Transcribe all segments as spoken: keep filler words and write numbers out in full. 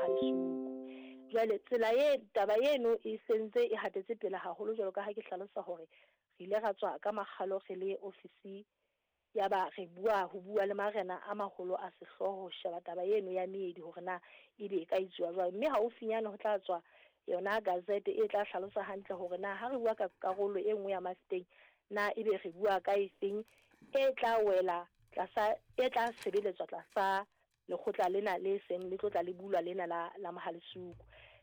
Mohalesuku. Jwale tsela e taba eno e sentse e hatetse pele haholo jwalo ka ha ke hlalosa hore re ile ra tswa ka makgalo re le ofisi ya ba re bua ho bua le marena a maholo a sehlooho ho sheba taba eno ya meedi hore na ebe e ka etsuwa jwang. Mme haufinyane ho tla tswa yona gazette e tla hlalosa hantle hore na ha re bua ka karolo e nngwe ya Mafeteng na ebe re bua ka efeng e tla wela tlasa e tla sebeletswa tlasa lekgotla lena le seng le tlotla le bulwa lena la la Mohalesuku.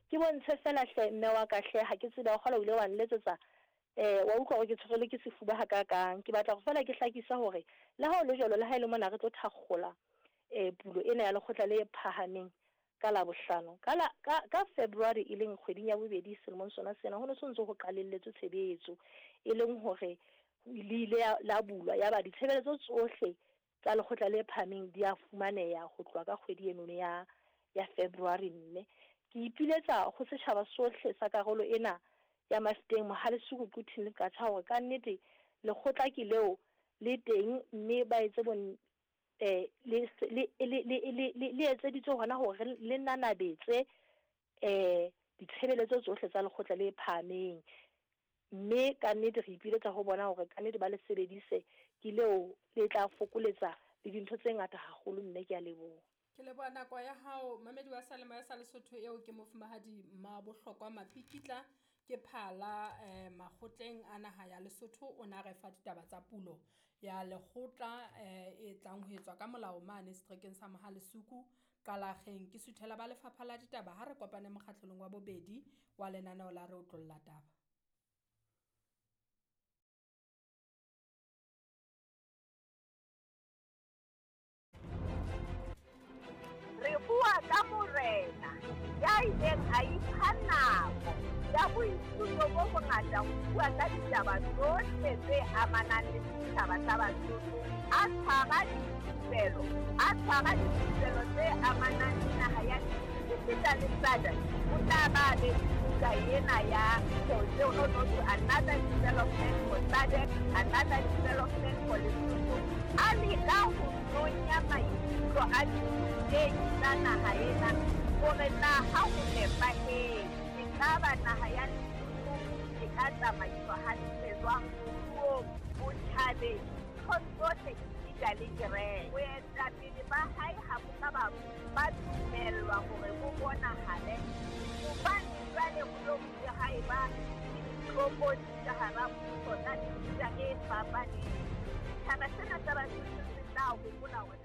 Ke bontshe fela hle mme wa ka hle ha ke tsebe wa kgola o ile wa nletsetsa eh wa utlwa hore ke tshwerwe ke sefuba ha ka kang. Ke batla go fela ke hlakisa hore le ha o le jwalo le ha e le mona re tlo thakgola eh pulo ena ya lekgotla le phahameng ka la bohlano ka la ka ka February e leng kgweding ya bobedi selemong sona sena ho ne so ntse ho qalelletswe tshebetso e leng hore le ile la bulwa ya ba ditshebeletso tsohle tsa lekgotla le phahameng di a fumaneha ho tloha ka kgwedi eno ya ya February. Mme ke ipiletsa ho setjhaba sohle sa karolo ena ya Mafeteng Mohalesuku Quthing le Qacha hore ka nnete lekgotla ke leo le teng mme ba etse bon eh le le le le le etseditswe hona hore le nanabetse eh ditshebeletso tsohle tsa lekgotla le phahameng. Mme ka nnete re ipiletsa ho bona hore ka nnete ba le sebedise ke leo le tla fokoletsa le dintho tse ngata haholo. Mme ke a leboha. Ke leboha nako ya hao mamedi wa Seyalemoya sa Lesotho eo ke mofumahadi Mmabohlokwa Mapikitla ke phala eh, makgotleng a naha ya Lesotho. O na re fa ditaba tsa pulo ya lekgotla eh, e tlang ho etswa ka molao mane seterekeng sa Mohalesuku Qalakgeng. Ke suthela ba lefapha la ditaba ha re kopane mokgahlelong wa bobedi wa lenaneo la Re Otlolla Taba. Re bua ka morena ya ileng a ipha nako ya boithuto bo bongata ho bua ka ditaba tsohle tse amanang le setjhaba sa Basotho, a tshwara dithupelo, a tshwara dithupelo tse amanang le naha ya esita le S A D C. O tla ba be buka ena ya no to another development for S A D C, another development for Lesotho. A leka ho nonya maikutlo a ditei tsa naha ena hore na ha ho nepahetse ekaba naha ya Lesotho e ka tsamaiswa hantle jwang moruong, botjhabeng, nthong tsohle esita le kereke. Boetapele ba hae ha bo ka ba ba dumellwa hore bo bonahale hobane jwale ho lo bile ha eba le ditlokotsi ka hara mmuso tsa mefuta e fapaneng. Setjhaba sena sa Basotho se tla hopola hore